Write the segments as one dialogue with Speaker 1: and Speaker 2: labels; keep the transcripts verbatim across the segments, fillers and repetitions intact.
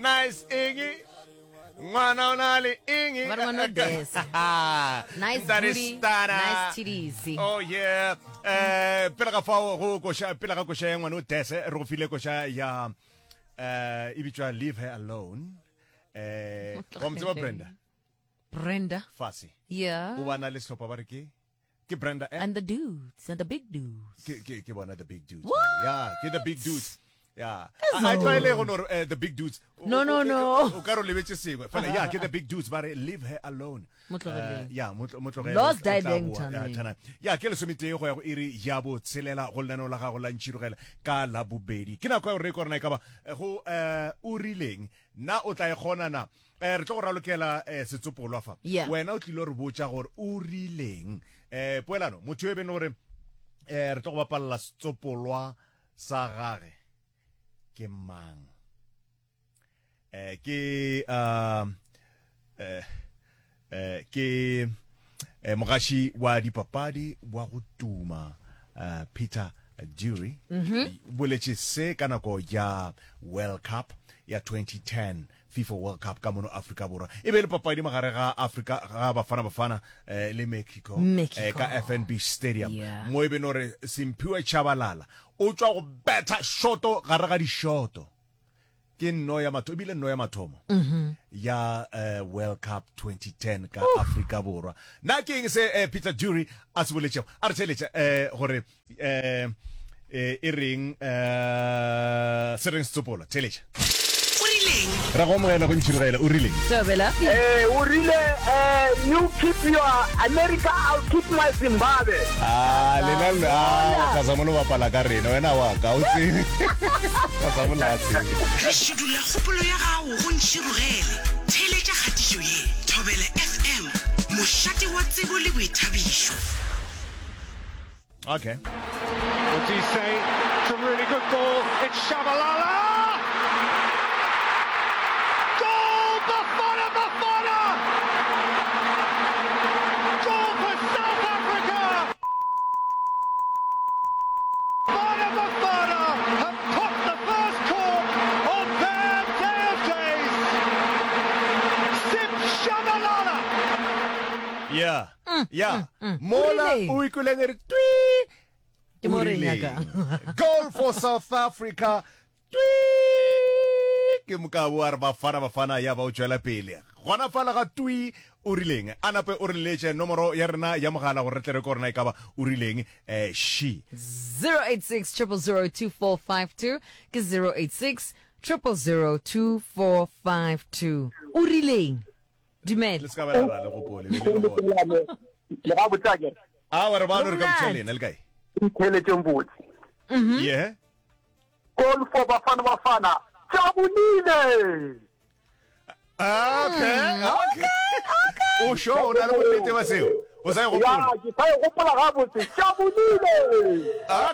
Speaker 1: Nice eng? Ngwana o na le eng?
Speaker 2: Ba re ngwana o desa. Nice
Speaker 1: Ntate
Speaker 2: booty,
Speaker 1: Stana.
Speaker 2: nice titties.
Speaker 1: Oh yeah. Eh pele ga fao go koša pele ga koša ya ngwana o dese re go file koša ya eh e bitswa Leave Her Alone. Eh wa mo tseba Brenda
Speaker 2: Brenda.
Speaker 1: Fasi.
Speaker 2: Yeah.
Speaker 1: O bana le sehlopha ba re ke ke Brenda eh?
Speaker 2: And the dudes and the big dudes.
Speaker 1: Ke ke ke bona the big dudes.
Speaker 2: What?
Speaker 1: Yeah, ke the big dudes. Yeah. A tlwaele go no re, eh, the big dudes. O-
Speaker 2: No, no,
Speaker 1: o-
Speaker 2: no.
Speaker 1: O ka re o lebetse sengwe. Fela yeah, ke the big dudes ba re leave her alone.
Speaker 2: Mo tlogeleng.
Speaker 1: Eh, yeah, mo tlo- mo tlogele.
Speaker 2: Lost
Speaker 1: O tla
Speaker 2: die bang
Speaker 1: boa.
Speaker 2: thaneng.
Speaker 1: Yeah, thanang. Yeah, ke lesometee go ya go iri ya botshelela go lenaneo la gago la ntšhirogela ka la bobedi. Ke nako ya gore re kore na e ka ba eh, go eh o rileng na o tla e kgona na eh re tlo go ralokela eh, setsopolwa fa
Speaker 2: Yeah.
Speaker 1: wena o tlile re botša gore o rileng eh poelano motho yo e beng gore eh re tlo go bapalla setsopolwa sa gage ke mang eh ke um eh eh ke eh, mogaši wa dipapadi wa go tuma eh, Peter Dury mm boletše se ka nako ya World Cup ya twenty ten FIFA World Cup ka mono Afrika Borwa e be le papadi magare ga Afrika ga Bafana Bafana eh, le Mexico,
Speaker 2: Mexico.
Speaker 1: eh, ka F N B Stadium
Speaker 2: Yeah.
Speaker 1: mo e be no re Simphiwe Tshabalala o tšwa go betha shoto gare ga dishoto ke nno ya mathomo ebile nno ya mathomo ya eh, World Cup twenty ten ka Afrika Borwa na ke eng se eh, Peter Dury a se boletšego a re theletša eh, gore eh, eh, e reng eh, se reng setsopolo theletša
Speaker 3: O rileng?
Speaker 1: Ra go amogela go ntšhirogela o rileng
Speaker 2: Thobela.
Speaker 4: Eh, o rile eh, you keep your America, I'll keep my Zimbabwe.
Speaker 1: Ah, lena le- ah, Kazamolo bapala ka rena wena wa ka o tsebe Kazamolo a tsebe
Speaker 3: Re šidula kgopolo ya gago go ntšhirogele. Theeletša kgatišo ye, Thobela F M, mošate wa tsebo le boithabišo.
Speaker 1: Okay.
Speaker 5: What do you say? It's a really good ball. It's Shabalala! Goal, Bafana, Bafana! Goal for South Africa! Bafana, Bafana have popped the first cork on their day of days. Sip Shabalala!
Speaker 1: Yeah. Yeah. Mola
Speaker 2: Rileng.
Speaker 1: o ikweleng e re twi.
Speaker 2: Ke mo
Speaker 1: O
Speaker 2: re
Speaker 1: rileng?
Speaker 2: nyakang.
Speaker 1: Goal for South Africa. Twi. Ke mokabo a re Bafana Bafana ya ba o tšwela pele. Gona fala ga twi o rileng. A nape o re letše nomoro ya rena ya mogala gore re tle re ko rena e ka ba o rileng eh she.
Speaker 2: zero eight six triple zero two four five two ke zero eight six triple zero two four five two. O rileng? Dumela.
Speaker 1: Le se ka ba la ra le gopole, le le gona.
Speaker 4: Le ga botsa ke.
Speaker 1: A wa re ba no re ka
Speaker 2: Monate.
Speaker 1: botša lena le kae?
Speaker 4: Ntheletšeng botse.
Speaker 1: Yeah.
Speaker 4: Goal for Bafana Bafana. Jabulile.
Speaker 1: Okay, okay. O sure o na le bonnete ba seo? O sa e gopola?
Speaker 4: Ya, ke sa e gopola gabotse. Jabulile.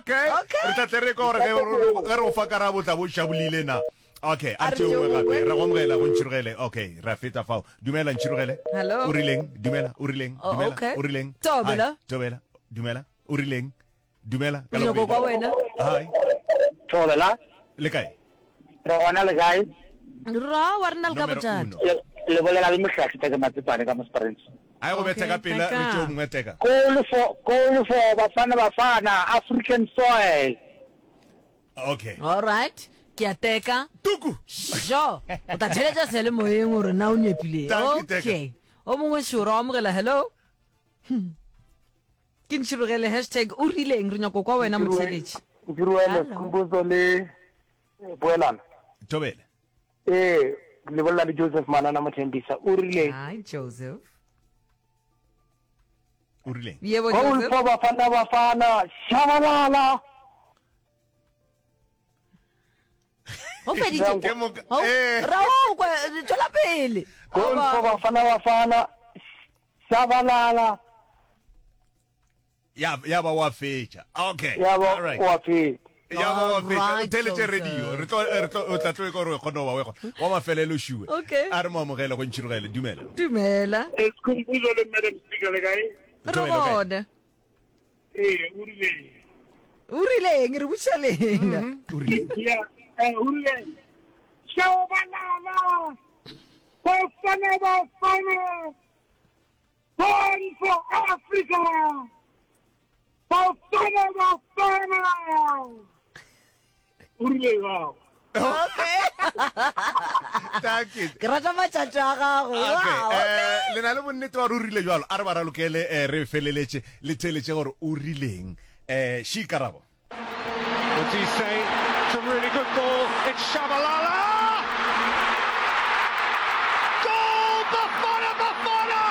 Speaker 1: Okay. Re tla tle re kwa gore ge re- ge re go fa karabo tla bo jabulile na. Okay, a
Speaker 2: A re
Speaker 1: tšeo nngwe
Speaker 2: tšeo
Speaker 1: gape.
Speaker 2: nngwe.
Speaker 1: Re go amogela go ntšhirogele. Okay, ra feta fao. Dumela ntšhirogele.
Speaker 2: Hello.
Speaker 1: O rileng? Dumela, o rileng?
Speaker 2: Oh,
Speaker 1: Dumela,
Speaker 2: okay.
Speaker 1: o rileng?
Speaker 2: Thobela.
Speaker 1: Hi, Thobela. Dumela, o rileng? Dumela. Ka
Speaker 2: Re nyako
Speaker 1: labobedi.
Speaker 2: kwa wena.
Speaker 1: Hi.
Speaker 4: Thobela.
Speaker 1: Le kae?
Speaker 4: Re gona le kae?
Speaker 2: Ra wa rena le ka
Speaker 1: Nomero
Speaker 2: bothata.
Speaker 1: uno.
Speaker 4: Le le bolela le mohlahli Tate Matsepane ka mo Springs.
Speaker 1: Ai go bethe ka
Speaker 2: Okay,
Speaker 1: pela re
Speaker 2: teka.
Speaker 1: tšeo mongwe teka.
Speaker 4: Goal for goal for Bafana Bafana African soil.
Speaker 1: Okay.
Speaker 2: All right. Ke a teka.
Speaker 1: Tuku.
Speaker 2: Sure. O tla theletša seyalemoyeng gore na o nepile.
Speaker 1: Dankie, teka.
Speaker 2: Okay. O mongwe sure o amogela hello. Hmm. Ke ntšhirogele hashtag o rileng re nyako kwa wena motheletši.
Speaker 4: Nkiruele
Speaker 2: Hello.
Speaker 4: Skhumbuzo le Boelana.
Speaker 1: Thobela.
Speaker 4: Eh, le bolela le Joseph Manana Mothembisa. O rile
Speaker 2: Hi Joseph.
Speaker 1: O rileng?
Speaker 2: Yebo
Speaker 4: Goal
Speaker 2: Joseph.
Speaker 4: for Bafana Bafana. Shabalala.
Speaker 2: Go feditše.
Speaker 1: Ke moka-
Speaker 2: Ho-
Speaker 1: eh.
Speaker 2: Ra o kwa tšwela pele.
Speaker 4: Goal
Speaker 2: Aba.
Speaker 4: for Bafana Bafana. Shabalala.
Speaker 1: Ya ya ba wa fetša. Okay.
Speaker 4: Ya ba
Speaker 1: All right.
Speaker 4: wa fetša.
Speaker 1: Ya ba wa fetša.
Speaker 2: Alright,
Speaker 1: O theletše
Speaker 2: Joseph.
Speaker 1: radio. Re tlo re tlo o tla tlo e ka gore o kgone go ba o e kgona. Wa mafelelo šiwe.
Speaker 2: Okay.
Speaker 1: A re mo amogele go ntšhirogele. Dumela.
Speaker 2: Dumela.
Speaker 4: Skhumbuzo le Madam Speaker le kae?
Speaker 2: Re
Speaker 1: Thobela, o kae?
Speaker 2: gona.
Speaker 4: Eh, o rile.
Speaker 2: O rileng re botša lena.
Speaker 1: O rileng?
Speaker 4: Ya, eh, o rile. Shabalala. Bafana Bafana Born for Africa Bafana Bafana O rile jwang?
Speaker 2: Okay.
Speaker 1: Thank you.
Speaker 2: Ke rata matšatši a gago.
Speaker 1: Okay,
Speaker 2: Wow.
Speaker 1: eh, le na le bonnete ba re o rile jalo a re ba ralokele eh, re feleletše le theeletše gore o rileng um she karabo
Speaker 5: Modise, it's a really good ball. It's Shabalala. Goal, Bafana Bafana!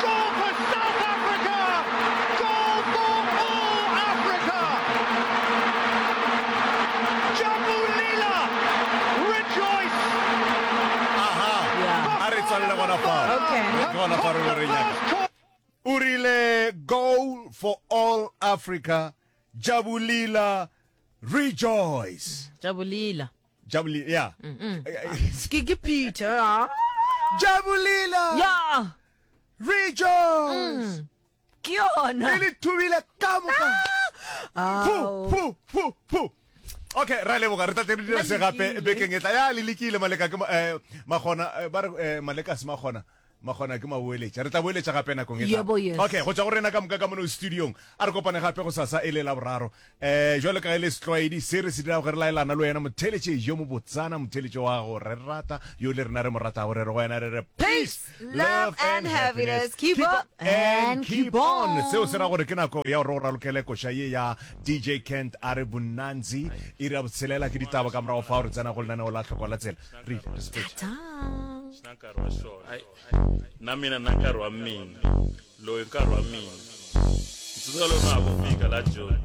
Speaker 5: Goal for South Africa! Goal for all Africa! Jabulila, rejoice!
Speaker 1: aha
Speaker 2: Yeah.
Speaker 1: a re tswalele gona fao
Speaker 2: Okay.
Speaker 1: ke gona fa re lo re nyaka
Speaker 5: First corner.
Speaker 1: o rile goal for all Africa Jabulila rejoice
Speaker 2: Jabulila.
Speaker 1: Jabulila yeah
Speaker 2: Ke ke Peter. ah.
Speaker 1: Jabulila
Speaker 2: Yeah.
Speaker 1: rejoice
Speaker 2: Ke yona.
Speaker 1: le le thubile ka moka
Speaker 2: Ao.
Speaker 1: pu pu pu pu okay ra leboga re tla tle re dira se gape bekeng e tla ya le lekile maleka ke ma- eh, magona eh, ba re eh, maleka se magona magona ke maboeletša re tla boeletša gape nakong e tlang.
Speaker 2: Yebo, yes.
Speaker 1: okay go tšwa go rena ka moka ka mono studiong a re kopane gape go sasa e le la boraro um jwalo ka ge le setlwaedi se re se dirago ge re laelana le wena motheletše yo mobotsana motheletše wa go re rata yo le rena re mo ratago re re go wena re re
Speaker 2: Peace, love and happiness. Keep up and keep on.
Speaker 1: Seo se ra gore ke nako ya gore o ralokele koša ye ya D J Kent a re Bonanzi iri ya botshelela ke ditaba ka morago fao re tsena go lenaneo la tlhokwa la tsela re ile re sepetše.
Speaker 2: Ta.
Speaker 6: Na nkarhi wa xona na mina na nkarhi wa mina loyi nkarhi wa mina ndzi tsundzuka loko na ha ku fika la Joni.